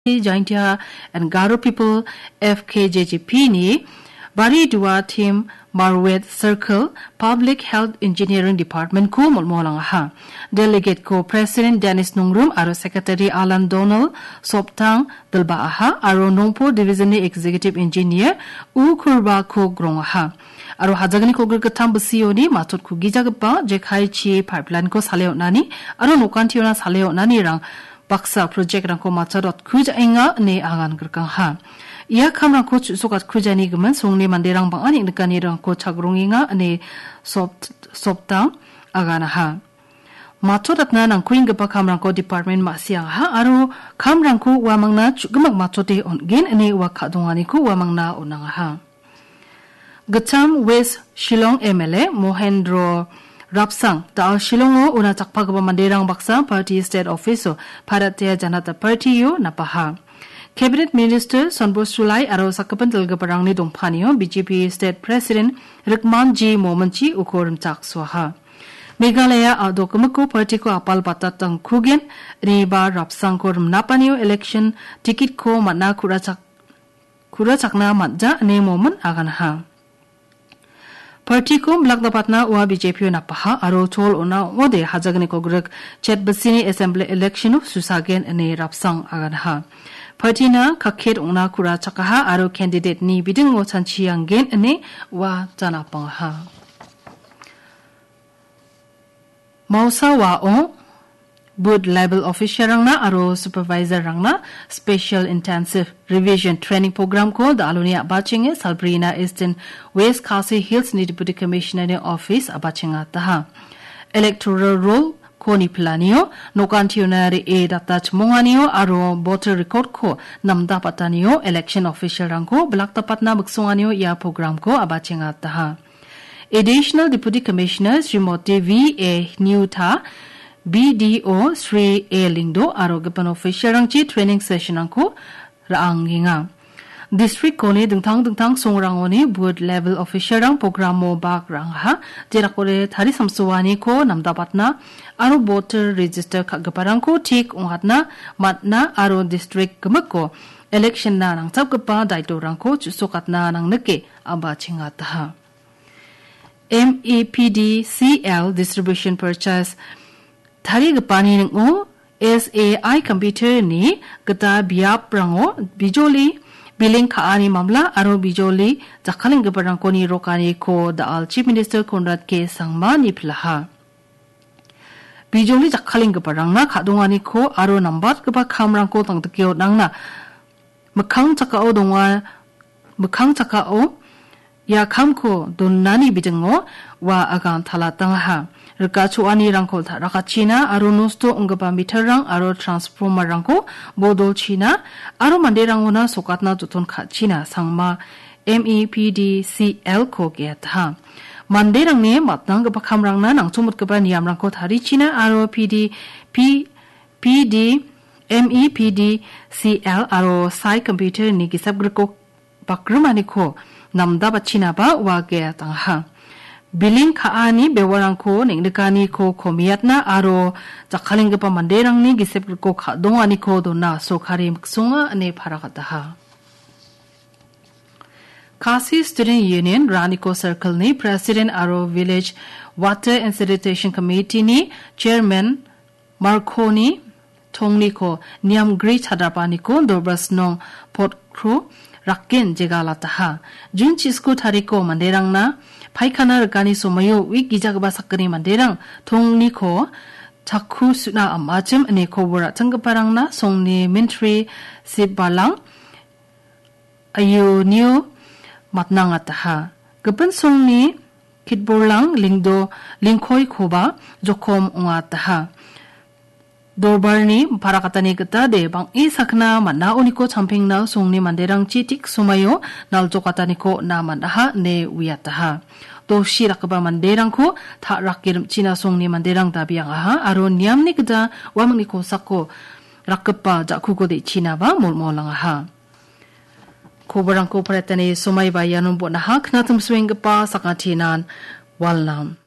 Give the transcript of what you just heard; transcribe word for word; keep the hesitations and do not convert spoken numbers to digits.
Jaintia and Garo People, F K J G P ni Bari Dua Team Marwet Circle Public Health Engineering Department-ko molmolangaha. Delegate-ko President Dennis Nungrum aro Secretary Alan Donald Soptang dilbaaha aro Nongpur Division-ni Executive Engineer U Kurba-ko grongaha. Aro hajagniko gittam bisioni matchotku gijagipa jekai chi pipeline-ko sale on·ani aro nokantiona sale on·anirang baksa project-rangko matchotkujaenga ine agan grikangha. Ia kamrangko chu·sokatkujaani gimin songni manderang bang·a neng·nikanirangko chagrongenga ine Sopt-, Soptang aganaha. Matchotatna nangkuenggipa kamrangko department ma·siangaha aro kamrangko uamangna chu·gimak matchote on·gen ine ua ka·donganiko uamangna on·angaha. Gittam West Shillong M L A Mohendro Rapsang, da·al Shillongo una chakpagipa manderang baksa party state office-o Bharatiya Janata Party-o napaha. Cabinet Minister Sonbor Sulai aro sakgipin dilgiparangni dongpanio B J P State President Rikman G Mominchi uko rimchaksoaha. Meghalaya a·dokgimiko party-ko apal batatangkugen, ineba Rapsangko rimnapanio election ticket-ko man·a ku·rachak-, ku·rachakna man·ja ine Momin aganaha. Party-ko bilakdapatna ua B J P-o napaha aro chol on·a ong·ode hajagniko grik chet bisini assembly election-o susagen ine Rapsang aganaha. Party-na kakket ong·na ku·rachakaha aro candidate-ni bidingo chanchianggen ine ua janapangaha. Mausa wa·o booth level officer-rangna aro supervisor-rangna Special Intensive Revision Training Program-ko da·aloni a·bachenge salbrina Eastern West Khasi Hills-ni Deputy Commissioner-ni office a·bachengataha. Electoral roll-ko nipilanio, nokantiona re·e data chimonganio aro voter record-ko namdapatanio election official-rangko bilakdapatna miksonganio ia program-ko a·bachengataha. Additional Deputy Commissioner Srimoti V A Niuta, B D O Sri A Lingdo aro gipin official-rangchi training session-rangko ra·angenga. District-koni dingtang dingtang songrangoni booth level official-rang program-o bak ra·angaha, jerakode tari samsoaniko namdabatna aro voter register ka·giparangko tik ong·atna man·a aro district gimikko election-na nangchapgipa daitorangko chu·sokatna nangnike a·bachengataha. M E P D C L distribution purchase tarigipani ning·o S A I computer-ni gita biaprango bijoli billing ka·ani mamla aro bijoli jakkalenggiparangko nirokaniko da·al Chief Minister Conrad K Sangma nipilaha. Bijoli jakkalenggiparangna ka·donganiko aro nambatgipa kamrangko tangdike on·angna mikkang chakao donga, mikkang chakao ia kamko donani bidingo ua agan talatangaha. Rika cho·anirangko ta·rakachina aro nosto ong·gipa meter-rang aro transformer-rangko bodolchina aro manderangona sokatna joton ka·china Sangma M E P D C L-ko ge·ataha. Manderangni matnanggipa kamrangna nangchomotgipa niamrangko tarichina aro P D P P D, M E P D C L aro sai computer-ni gisep griko bakrimaniko namdabatchinaba ua ge·atangaha. Billing ka·ani bewarangko neng·nikaniko komiatna aro jakkalenggipa manderangni gisep griko ka·donganiko dona sorkari miksonga ine paragataha. Khasi Student Union Raniko Circle-ni President aro Village Water and Sanitation Committee-ni Chairman Markoni Tongniko niamgri chadrapaniko Dorbasnong Potkro Rakken jegalataha. Jun chisku tariko manderangna paikana rikani somoio uik gijagipa sakgni manderang Tongniko chakku su·na am·achim ine kobor ra·chenggiparangna songni mintri Sip Balang Ayunio matnangataha. Gipin songni kitborlang Lingdo Lingkoikoba jokom ongataha. Dorbarni parakatani gita de bang·e sakna man·aoniko champengna songni manderangchi tik somaio naljokataniko on·a man·aha ine uiataha. Dosi rakgipa manderangko ta·rake rim·china songni manderang dabiangaha aro niamni gita uamangni kosako rakgipa ja·kuko de·chinaba molmolangaha. Koborangko paretani somaiba ianon bon·aha, knatim suenggipa sakatinan walnam.